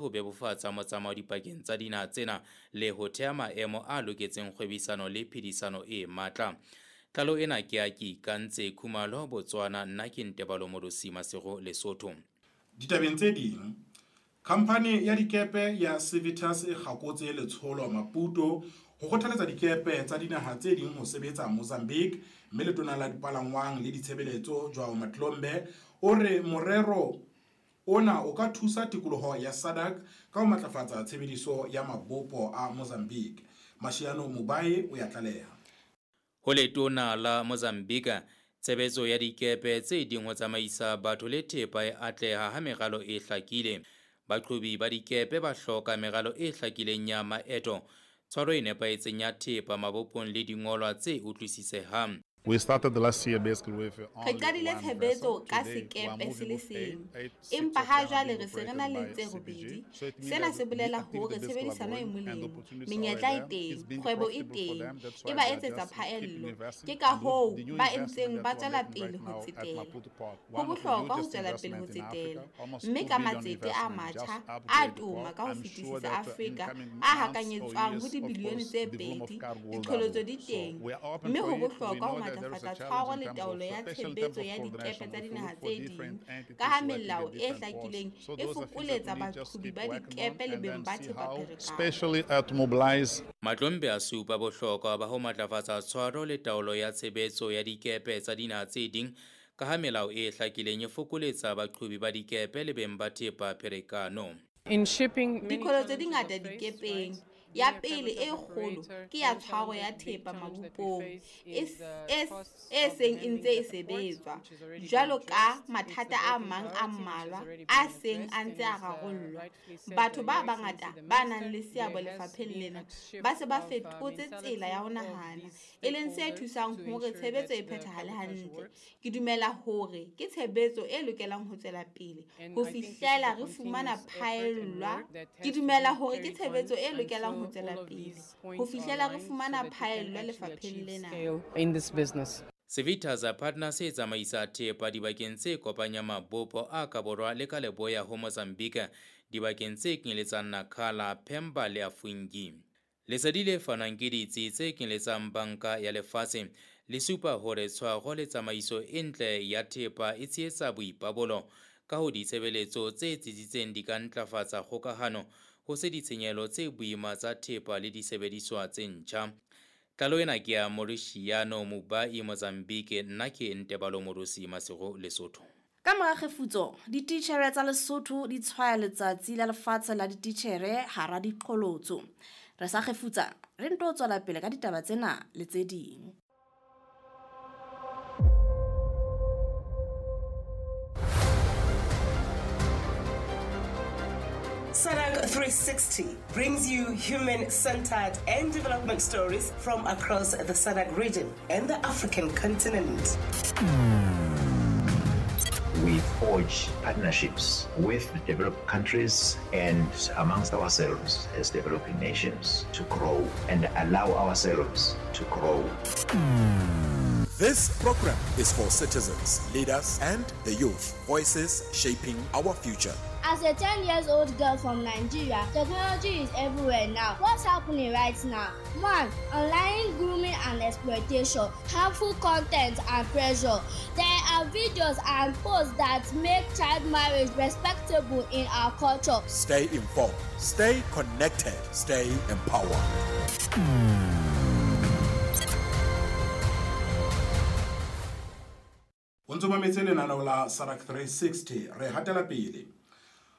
Ho bebofatsa motsamao dipakeng tsa dinaha tsena le ho thea maemo a loketseng kgwebisano le phedisano e matla. Tlaleho ena ke ya Keikantse Khumalo, Botswana, nna ke Ntebalo Morosi Masego, Lesotho. Ditabeng tse ding, khamphani ya dikepe ya Civitas e kgakotse letsholo Maputo ho kgothaletsa dikepe tsa dinaha tse ding ho sebetsa Mozambique mme Letona la Dipalangwang le Ditshebeletso Joao Matlombe o re morero ona o ka thusa tikoloho ya SADC ka ho matlafatsa tshebediso ya mabopo a Mozambique. Mashiano Mubai o ya tlaleha. Ho letona la Mozambique, tshebetso ya dikepe tse ding ho tsamaisa batho le thepa e atleha ha meralo e hlakile. Baqhobi ba dikepe ba hloka meralo e hlakileng ya maeto, tshwaro e nepahetseng ya thepa mabopong le dingolwa tse utlwisisehang. Re qadile tshebetso ka sekepe se le seng, empa ha jwale re se re na le tse robedi. Sena se bolela hore tshebedisano e molemo, menyetla e teng, kgwebo e teng, e ba etsetsa phaello. Ke ka hoo ba ntseng ba tswela pele ho tsetela. Ho bohlokwa ho tswela pele ho tsetela, mme ka matsete a matjha a toma ka ho fetisisa Afrika a hakanyetswang ho dibilione tse 2, diqholotso di teng, mme ho bohlokwa ho matlafatsa tshwaro le taolo ya tshebetso ya dikepe tsa dinaha tse ding ka ha melao e hlakileng e fokoletsa baqhobi ba dikepe le beng ba thepa pherekano. Matlombe a supa bohlokwa ba ho matlafatsa tshwaro le taolo ya tshebetso ya dikepe tsa dinaha tse ding ka ha melao e hlakileng e fokoletsa baqhobi ba dikepe le beng ba thepa pherekano. Diqholotso di ngata dikepeng. Ya pele e kgolo ke ya tshwaro ya thepa mabopong e seng e ntse e sebetswa, jwalo ka mathata a mang a mmalwa a seng a ntse a rarollwa. Batho ba bangata ba nang le seabo lefapheng lena ba se ba fetotse tsela ya ho nahana, e leng se thusang hore tshebetso e phethahale hantle. Ke dumela hore ke tshebetso e lokelang ho tswela pele ho fihlela re fumana phaellwa. Ke dumela hore ke tshebetso e lokelang ho tswela pele ho fihlela re fumana phaello lefapheng lena. Civitas Partners e tsamaisa thepa dibakeng tse kopanyang mabopo a ka borwa le ka leboya ho Mozambique, dibakeng tse kenyeletsang Nacala, Pemba le Afungi. Lesedi le fanwang ke ditsi tse kenyeletsang Banka ya Lefatshe le supa hore tshwaro le tsamaiso e ntle ya thepa e tshehetsa boipabolo ka ho ditshebeletso tse tsitsitseng di ka ntlafatsa kgokahano ho se ditshenyehelo tse boima tsa thepa le disebediswa tse ntjha. Tlaleho ena ke ya Mauritiano Mubai, Mozambique. Nna ke Ntebalo Morosi Masego, Lesotho. Ka mora kgefutso, dititjhere tsa Lesotho di tshwaya Letsatsi la Lefatshe la Dititjhere hara diqholotso. Re sa kgefutsa, re nto tswela pele ka ditaba tsena le tse ding. SADC 360 brings you human-centered and development stories from across the SADC region and the African continent. We forge partnerships with developed countries and amongst ourselves as developing nations to grow and allow ourselves to grow. This program is for citizens, leaders, and the youth, voices shaping our future. As a 10 years old girl from Nigeria, technology is everywhere now. What's happening right now? 1. Online grooming and exploitation, harmful content and pressure. There are videos and posts that make child marriage respectable in our culture. Stay informed, stay connected, stay empowered. O ntso mametse lenaneo la SADC 360. Re hatela pele.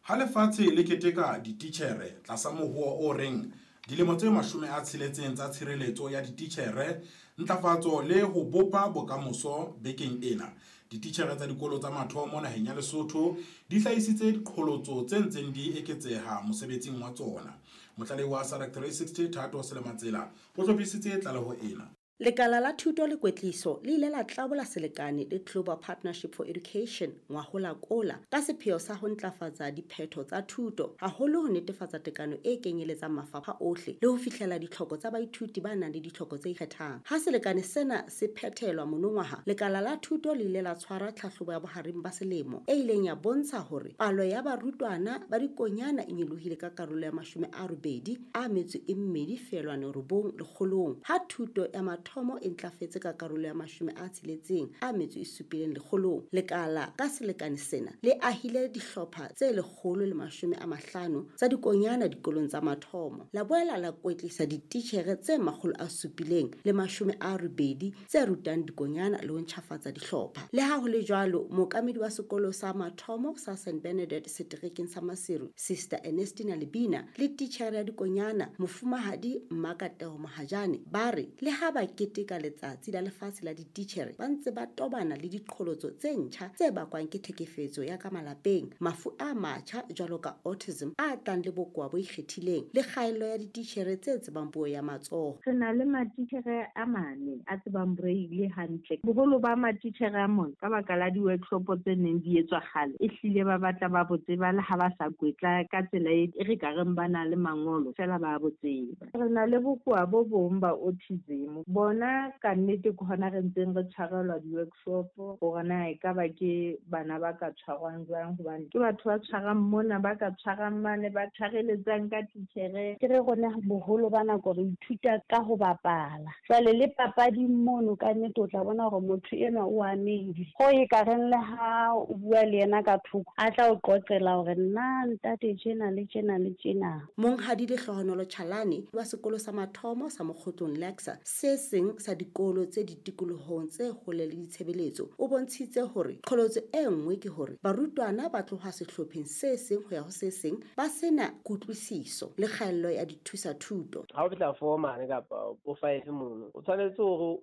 Ha lefatshe le keteka dititjhere tlasa mohoo o reng dilemo tse 60 tsa tshireletso ya dititjhere, ntlafatso le ho bopa bokamoso bekeng ena. Dititjhere tsa dikolo tsa mathomo naheng ya Lesotho di hlahisitse diqholotso tse ntseng di eketseha mosebetsing wa tsona. Motlalehi wa SADC 360 Thato Selematsela o hlophisitse tlaleho ena. Lekala la Thuto le Kwetliso le ile la tlabola selekane le Global Partnership for Education ngwahola kola ka sepheo sa ho ntlafatsa diphetho tsa thuto, haholo ho netefatsa tekano e kenyeletsang mafapha ohle le ho fihlela ditlhoko tsa baithuti ba nang le ditlhoko tse ikgethang. Ha selekane sena se phethelwa monongwaha, lekala la thuto le ile la tshwara tlhahlobo ya bohareng ba selemo e ileng ya bontsha hore palo ya barutwana ba dikonyana e nyolohile ka karolo ya 82.9 lekgolong, ha thuto ya mathomo e ntlafetse ka karolo ya 67 lekgolong. Lekala ka selekane sena le ahile dihlopha tse 150 tsa dikonyana dikolong tsa mathomo, la boela la kwetlisa dititjhere tse 780 tse rutang dikonyana le ho ntjhafatsa dihlopha. Le ha ho le jwalo, mookamedi wa sekolo sa mathomo sa St Bernadette seterekeng sa Maseru, Sister Ernestina Lebina, le titjhere ya dikonyana Mofumahadi Mmakatego Mohajane ba re le ha ba keteka letsatsi la lefatshe la dititjhere, ba ntse ba tobana le diqholotso tse ntjha tse bakwang ke tlhekefetso ya ka malapeng, mafu a matjha jwalo ka autism a tlang le bokowa bo ikgethileng, le kgaello ya dititjhere tse tsebang puo ya matsoho. Re na le matitjhere a mane a tsebang braille hantle. Boholo ba matitjhere a mona ka baka la di-workshop tse neng di etswa kgale, ehlile ba batla ba bo tseba le ha ba sa kwetla ka tsela e re ka reng ba na le mangolo, fela ba bo tseba. Re na le bokowa bo bong ba autism, bona ka nnete ke hona re ntseng re tshwarelwa di-workshop hore na ekaba ke bana ba ka tshwarwang jwang, hobane ke batho ba tshwarang mona, ba ka tshwarang mane, ba tshwareletsang ka titjhere. Ke re rona boholo ba nako re ithuta ka ho bapala. Jwale le papading mono ka nnete o tla bona hore motho enwa o amehile. Ho e ka reng le ha o bua le yena ka thoko, a tla o qoqela hore nna ntate tjena le tjena le tjena. Monghadi Lehlohonolo Chalane wa sekolo sa mathomo sa Mokgotlong Lexa, se seng sa dikolo tse ditikolohong tse hole le ditshebeletso, o bontshitse hore qholotso e nngwe ke hore barutwana ba tloha sehlopheng se seng ho ya ho se seng ba sena kutlwisiso le kgaello ya dithusa-thuto. Ha o fihla 4 mane kapa bo 5 mono, o tshwanetse hore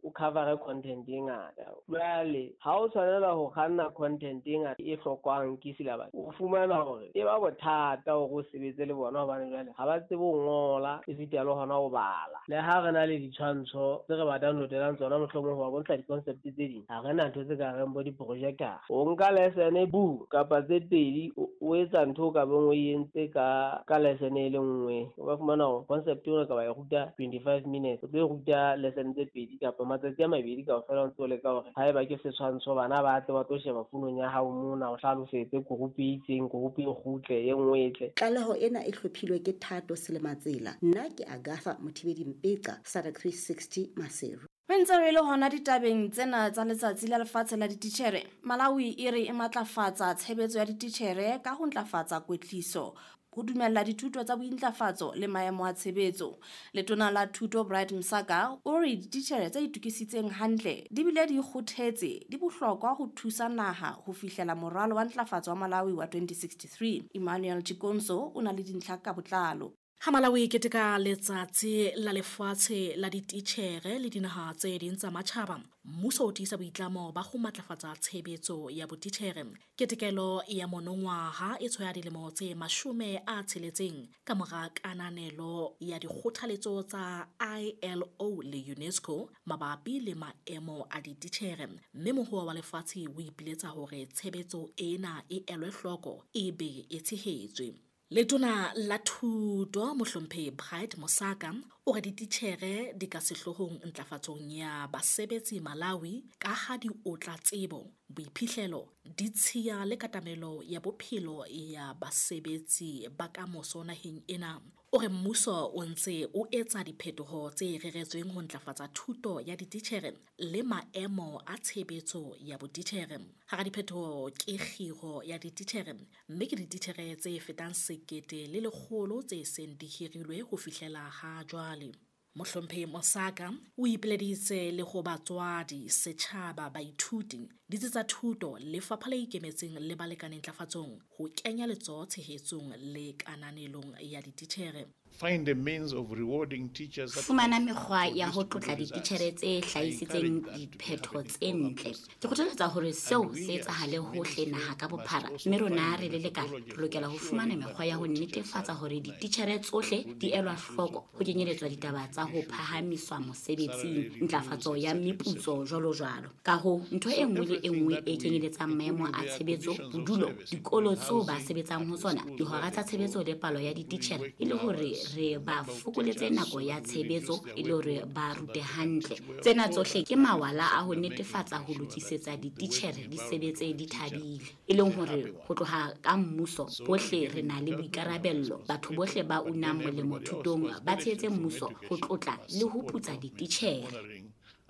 o cover content e ngata. Jwale ha o tshwanela ho kganna content e ngata e hlokwang ke syllabus, o fumana hore e ba bothata hore o sebetse le bona, hobane jwale ha ba tsebe ho ngola esita le hona ho bala. Le ha re na le ditshwantsho tse re ba downloadelang tsona, mohlomong ho ba bontsha di-concept tse ding, ha re na ntho tse ka reng bo di-projector. O nka lesson bu kapa tse pedi, o etsa ntho o ka beng o entse ka lesson e le nngwe. O ka fumana hore concept eo ka ba e ruta 25 minutes, o tlo e ruta lesson tse pedi kapa matsatsi a mabedi kaofela, o ntse o leka hore haeba ke setshwantsho bana ba tle ba tlo sheba founung ya hao mona, o hlalosetse group e itseng, group e kgutle, e nngwe e tle. Tlaleho ena e hlophilwe ke Thato Selematsela. Nna ke Agatha Mothibedi Mpeqa, SADC 360 Maseru. Re ntse re le hona ditabeng tsena tsa letsatsi la lefatshe la dititjhere, Malawi e re e matlafatsa tshebetso ya dititjhere ka ho ntlafatsa kwetliso, ho dumella dithuto tsa bointlafatso le maemo a tshebetso. Letona la Thuto Bright Msaka o re dititjhere tse itokisitseng hantle di bile di kgothetse di bohlokwa ho thusa naha ho fihlela moralo wa ntlafatso wa Malawi wa 2063. Emmanuel Chikonso o na le dintlha ka botlalo. Ha Malawi e keteka letsatsi la lefatshe la dititjhere le dinaha tse ding tsa matjhaba, mmuso o tiisa boitlamo ba ho matlafatsa tshebetso ya botitjhere. Ketekelo ya monongwaha e tshwaya dilemo tse 60 ka mora kananelo ya dikgothaletso tsa ILO le UNESCO mabapi le maemo a dititjhere, mme mohoa wa lefatshe o ipiletsa hore tshebetso ena e elwe hloko e be e tshehetswe. Letona la Thuto Mohlomphehi Bright Mosaka o re dititjhere di ka sehloohong ntlafatsong ya basebetsi Malawi ka ha di otla tsebo, boiphihlelo, ditshiya le katamelo ya bophelo ya basebetsi ba kamoso naheng ena. O re mmuso o ntse o etsa diphetoho tse reretsweng ho ntlafatsa thuto ya dititjhere le maemo a tshebetso ya botitjhere. Hara diphetoho ke kgiro ya dititjhere, mme ke dititjhere tse fetang 1,100 tse seng di hirilwe ho fihlela ha jwale. Mohlomphehi Mosaka o ipileditse le ho batswadi, setjhaba, baithuti, ditsi tsa thuto, lefapha le ikemetseng le balekane ntlafatsong ho kenya letsoho tshehetsong le kananelong ya dititjhere. Find a means of rewarding teachers. Fumana mekgwa ya ho tlotla dititjhere tse hlahisitseng diphetho tse ntle. Ke kgothaletsa hore seo se etsahale hohle naha ka bophara, mme rona re le lekala re lokela ho fumana mekgwa ya ho netefatsa hore dititjhere tsohle di elwa hloko, ho kenyeletswa ditaba tsa ho phahamiswa mosebetsing, ntlafatso ya meputso jwalo jwalo. Ka hoo, ntho e nngwe le e nngwe e kenyeletsang maemo a tshebetso, bodulo, dikolo tseo ba sebetsang ho tsona, dihora tsa tshebetso le palo ya dititjhere e le hore re ba fokoletse nako ya tshebetso e le hore ba rute hantle. Tsena tsohle ke mawala a ho netefatsa ho lokisetsa dititjhere di sebetse di thabile. E leng hore ho tloha ka mmuso bohle re na le boikarabello. Batho bohle ba unang molemo thutong ba tshehetse mmuso ho tlotla le ho putsa dititjhere.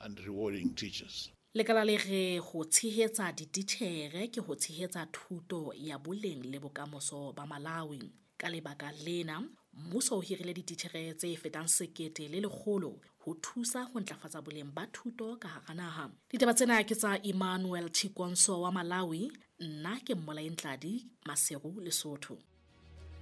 And rewarding teachers. Lekala le re ho tshehetsa dititjhere ke ho tshehetsa thuto ya boleng le bokamoso ba Malawi. Ka lebaka lena, mmuso o hirile dititjhere tse fetang 1,100 ho thusa ho ntlafatsa boleng ba thuto ka hara naha. Ditaba tsena ke tsa Emmanuel Chikonso wa Malawi, nna ke Mmolae Ntladi, Maseru, Lesotho.